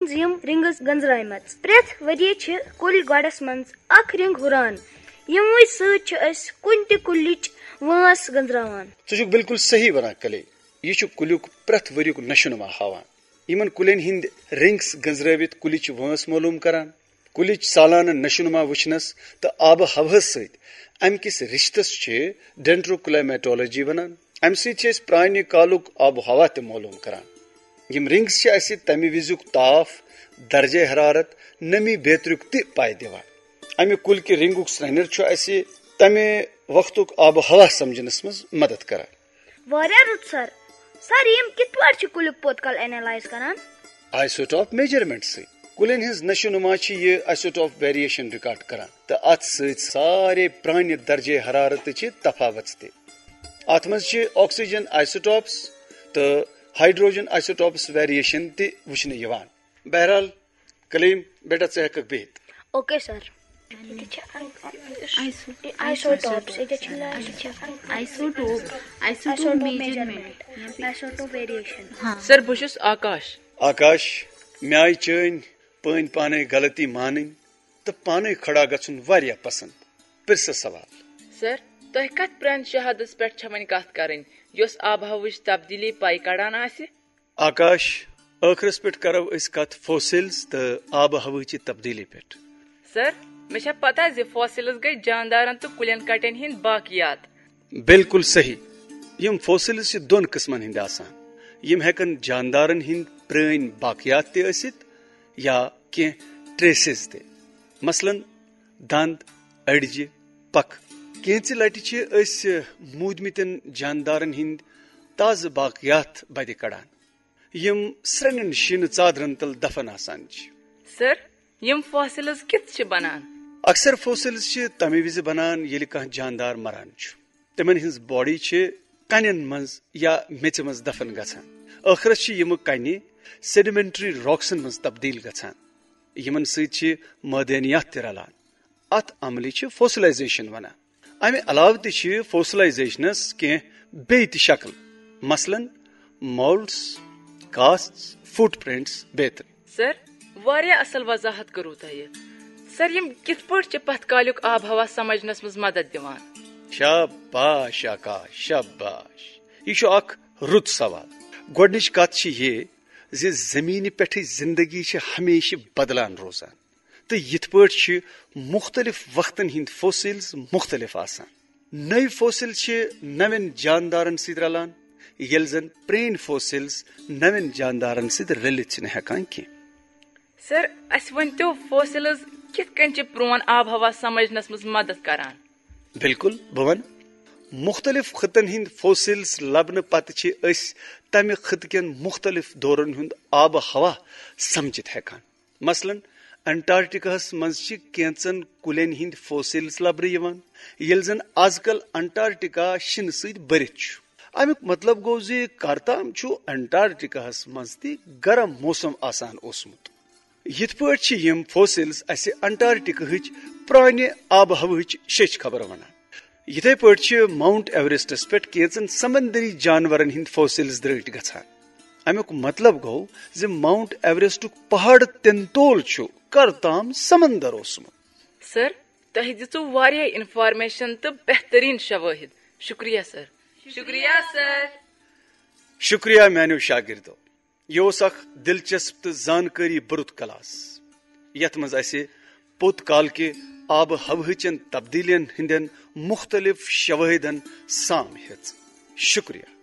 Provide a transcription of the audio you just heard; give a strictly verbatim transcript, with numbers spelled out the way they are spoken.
یِم رنگز گنزرایمژ۔ پرٛٮ۪تھ ؤریہِ چھِ کُلۍ گۄڈس منٛز اکھ رنگ ہُران، یِموٕے سۭتۍ چھِ أسۍ کُنہِ تہِ کُلِچ وٲنٛس گنزراوان۔ ژٕ چھُکھ بالکل صحیح ونان، کلے۔ یہِ چھُ کُلیُک پرٛٮ۪تھ ؤریُک نشو نما ہاوان۔ یِمن کُلٮ۪ن ہٕنٛدۍ رنگس گنزرٲوِتھ کُلِچ وٲنٛس معلوم کران۔ کُلِچ سالانہٕ نشو نما وٕچھنس تہٕ آبہٕ ہوہس سۭتۍ امہِ کِس رشتس چھِ ڈینڈروکلایمیٹولوجی ونان۔ امہِ سۭتۍ چھِ أسۍ پرانہِ کالُک آب و ہوا تہِ معلوم کران۔ یِم رنگس چھِ اسہِ تمہِ وِزُک تاپھ، درجہ حرارت، نمی بیترُک تہِ پاے دِوان۔ امہِ کُلۍ کہِ رنگُک سرٛنٮ۪ر چھُ اسہِ تمہِ وقتُک آب و ہوا سمجھنس منٛز مدد کران۔ واریاہ رُت سر۔ سر، یِم کِتھ پٲٹھۍ چھِ کُلیُک پوٚت کال اینالائز کران؟ آیسوٹاپ میجرمنٹ سۭتۍ۔ کُلٮ۪ن ہٕنٛز نشو نما چھِ یہِ آیسوٹاپ ویریشن ریکارڈ کران تہٕ اتھ سۭتۍ سارے پرانہِ درجہ حرارتٕچہِ تفاوژ تہِ۔ اتھ منٛز چھِ آکسیجن آیسوٹاپس تہٕ ہائیڈروجن آیسوٹاپس ویریشن تہِ وٕچھنہٕ یِوان۔ بہرحال، کلیم، بیٹا، ژٕ ہیٚککھ بِہِتھ۔ Okay sir. ییٚتہِ چھِ آیسوٹاپس، ییٚتہِ چھِ آیسوٹوپ، آیسوٹوپ آیسوٹوپ میجرمنٹ، میجرمنٹ۔ آیسوٹوپ ویریشن۔ ہاں۔ سر، بہٕ چھُس آکاش۔ آکاش، مےٚ آیہِ چٲنۍ پٲنۍ پانے غلطی مانٕنۍ تہٕ پانے کھڑا گژھُن واریاہ پسند۔ پرژھ سوال۔ سر، تۄہہِ کتھ پرانہِ شہادس پٮ۪ٹھ چھےٚ وۄنۍ کتھ کرٕنۍ، یۄس آب و ہوہٕچ تبدیلی پاے کڑان آسہِ؟ آکاش، ٲخرس پٮ۪ٹھ کرو أسۍ کتھ فوسلز تہٕ آب و ہوہٕچہِ تبدیلی پٮ۪ٹھ۔ سر، مےٚ چھےٚ پتہ زِ فوسلز گٔے جاندارن تہٕ کُلٮ۪ن کٹٮ۪ن ہٕنٛدۍ باقیات۔ بالکل صحیح۔ یِم فوسلز چھِ دۄن قٕسمن ہٕنٛدۍ آسان۔ یِم ہٮ۪کن جاندارن ہٕنٛدۍ پرٲنۍ باقیات تہِ ٲسِتھ یا کینٛہہ ٹریسز تہِ۔ مثلاً، دند، أڈجہِ، پکھ۔ کینژِ لٹہِ چھِ أسۍ موٗدمٕتٮ۪ن جاندارن ہٕنٛدۍ تازٕ باقیات بدِ کڑان، یِم سرٛنٮ۪ن شیٖنہٕ ژادرن تل دفن آسان چھِ۔ سر، یِم فوسلز کِتھ چھِ بنان؟ اکثر فوسلز چھِ تمہِ وِزِ بنان، ییٚلہِ کانٛہہ جاندار مران چھُ۔ تِمن ہٕنٛز باڈی چھِ کنٮ۪ن منٛز یا میٚژِ منٛز دفن گژھان۔ ٲخرس چھِ یِمہٕ کنہِ سیڈیمنٹری راکسن منٛز تبدیل گژھان، یِمن سۭتۍ چھِ معدنیات تہِ رلان۔ اتھ عملہِ چھِ فوسلائزیشن ونان۔ امہِ علاوٕ تہِ چھِ فوسلائزیشنس کینٛہہ بیٚیہِ تہِ شکل، مثلاً، مولڈز، کاسٹس، فٹ پرنٹس بیترِ۔ سر، واریاہ اصل وضاحت کٔروٕ تۄہہِ۔ سر، یِم کِتھ پٲٹھۍ چھِ پتھ کالیُک آب و ہوا سمجھنس منٛز مدد دِوان؟ شاباش آکاش، شاباش۔ یہِ چھُ اکھ رُت سوال۔ گۄڈٕنِچ کتھ چھِ یہِ زِ زمینہِ پٮ۪ٹھٕچ زندگی چھِ ہمیشہِ بدلان روزان۔ تہٕ یِتھ پٲٹھۍ چھِ مُختٔلِف وقتن ہٕنٛدۍ فوسلز مُختٔلِف آسان۔ نٔوۍ فوسل چھِ نوٮ۪ن جاندارن سۭتۍ رلان، ییٚلہِ زن پرٛٲنۍ فوسلز نوٮ۪ن جاندارن سۭتۍ رٔلِتھ چھِنہٕ ہٮ۪کان کینٛہہ۔ سر، اسہِ ؤنۍ تو، فوسلز کِتھ کٔنۍ چھِ پرون آب و ہوا سمجھنس منٛز مدد کران؟ بالکل، بہٕ ونہٕ۔ مُختٔلِف خطن ہٕنٛدۍ فوسلز لبنہٕ پتہٕ چھِ أسۍ تمہِ خطہٕ کٮ۪ن مُختٔلِف دورن ہُنٛد آب و ہوا سمجھِتھ ہٮ۪کان۔ مثلاً، انٹارکٹیکاہس منٛز چھِ کینٛژن کُلٮ۪ن ہٕنٛدۍ فوسلز لبنہٕ یِوان، ییٚلہِ زن از کل انٹارکٹیکا شِنہٕ سۭتۍ بٔرِتھ چھُ۔ امیُک مطلب گوٚو زِ کر تام چھُ انٹارکٹیکاہس منٛز تہِ گرم موسم آسان اوسمُت۔ یِتھ پٲٹھۍ چھِ یِم فوسلز اسہِ انٹارکٹیکاہٕچ پرانہِ آب و ہوہٕچ شیٚچھ خبر ونان۔ یِتھے پٲٹھۍ چھِ ماؤنٹ ایوریسٹس پٮ۪ٹھ کینٛژن سمندری جانورن ہٕنٛدۍ فوسلز درٲٹھۍ گژھان۔ امیُک مطلب گوٚو زِ ماؤنٹ ایوریسٹُک پہاڑ تنتول چھُ کر تام سمندر اوسمُت۔ سر، تۄہہِ دِژوٕ واریاہ انفارمیشن تہٕ بہترین شوٲہد۔ شکریہ سر۔ شکریہ سر۔ شکریہ میانیو شاگردو۔ یہِ اوس اکھ دلچسپ تہٕ زانکٲری بھرُت کلاس، یتھ منٛز اسہِ پوٚت کال کہِ آبہٕ ہوہٕچن تبدیلیَن ہٕنٛدٮ۪ن مُختٔلِف شوٲہدن سام ہیٚژ۔ شکریہ۔